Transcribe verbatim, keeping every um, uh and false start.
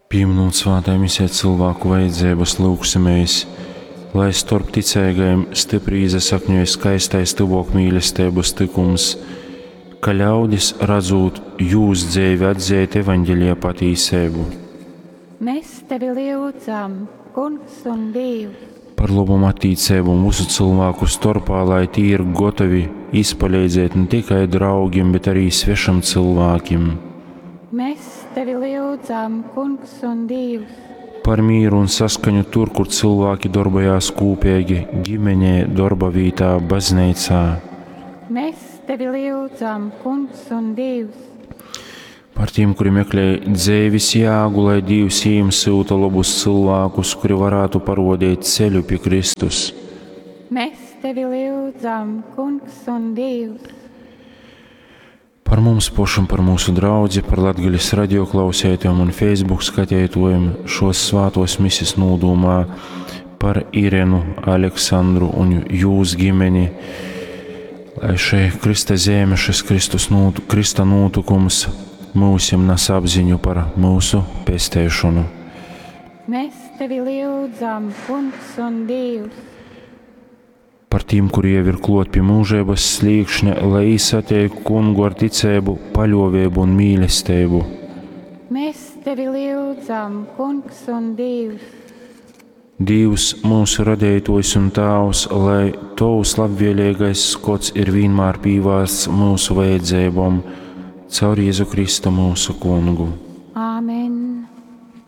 Pieminot svētā misē cilvēku vajadzības, lūgsimies, lai starp ticīgajiem stipri iesakņoja skaistais tuvāk mīlestības tikums, ka ļaudis, redzot jūs dzīvi, atzīt evaņģelija patīsību. Mēs tevi lūdzam, Kungs un Dievs. Par labom attiecībām visu cilvēku starpā, lai tie ir gatavi izpalīdzēt ne tikai draugiem, bet arī svešam cilvēkiem. Mēs tevi lūdzam, Kungs un Dievs. Par mieru un saskaņu tur, kur cilvēki darbojās kopīgi, ģimenē, darba vietā, baznīcā. Mēs tevi lūdzam, Kungs un Dievs. Par tiem, kuri meklē dzīves jēgu, lai Dievs jiem sūta labus cilvēkus, kuri varētu parodīt ceļu pie Kristus. Mēs tevi lūdzam, Kungs un Dievs. Par mums pašam, par mūsu draudzi, par Latgales radioklausētājiem un Facebook skatītājiem šos svātos misis nūdūmā, par Irenu, Aleksandru un jūs ģimeni, lai šī Krista zeme, šis Kristus nūtu, Krista nūtukums mūsim nes apziņu par mūsu pestēšanu. Mēs tevi lūdzam, Kungs un Dievs. Par tiem, kuri jau ir klot pie mūžības slīkšņa, lai īsatiek kungu ar ticību, paļovību un mīlestību. Mēs tevi lūdzam, Kungs un Dievs. Dievs, mūsu radītājs un Tēvs, lai Tavs labvēlīgais skots ir vienmēr pīvārsts mūsu vajadzībām, caur Jēzu Kristu mūsu kungu.